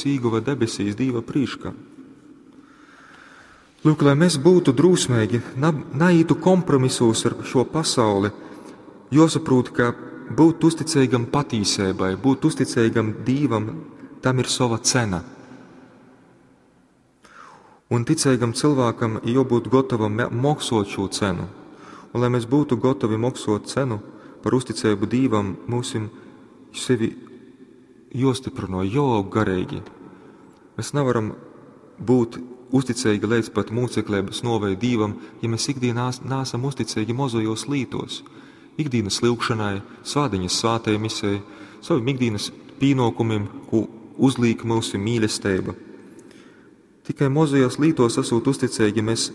īguva debesīs Dīva prīškā. Lūk, lai mēs būtu drūsmeigi, na, naītu kompromisūs ar šo pasauli, josaprūt, ka būt uzticīgam patīsībai, būt uzticīgam Dīvam, tam ir sova cena. Un ticīgam cilvēkam jābūt gatavam maksot šo cenu. Un lai mēs būtu gatavi maksot cenu par uzticību Dīvam, mums sevi jostiprino, joaug garīgi. Mēs nevaram būt uzticīgi līdz pat mūceklības novei Dīvam, ja mēs ikdienā nāsam uzticīgi mozojos lītos. Ikdienas lūgšanai, svādiņas svātajai misei, saviem ikdienas pienākumiem, ko uzliek mūsu mīlestība. Tikai mozajos lītos esot uzticīgi, mēs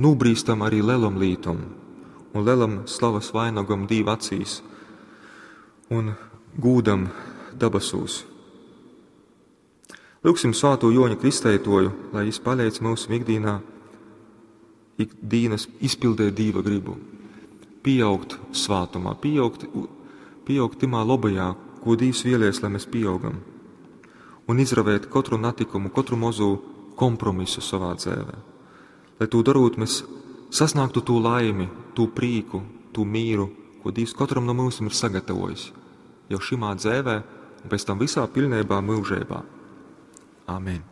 nūbrīstam arī lelam lītom un lelam slavas vainagam Dīva acīs un gūdam dabasūs. Lūksim svēto Joņa Kristētoju, lai viņš palīdz mūsu ikdienā, ikdienas izpildēt Dīva gribu, pieaugt svātumā, pieaugt, pieaugt timā labajā, ko Dievs vēlies, lai mēs pieaugam, un izravēt katru natikumu, katru mazu kompromisu savā dzīvē. Lai to darot, mēs sasniegtu to laimi, to prīku, to mīru, ko Dievs katram no mums ir sagatavojis jau šimā dzēvē un pēc tam visā pilnībā mūžībā. Amen.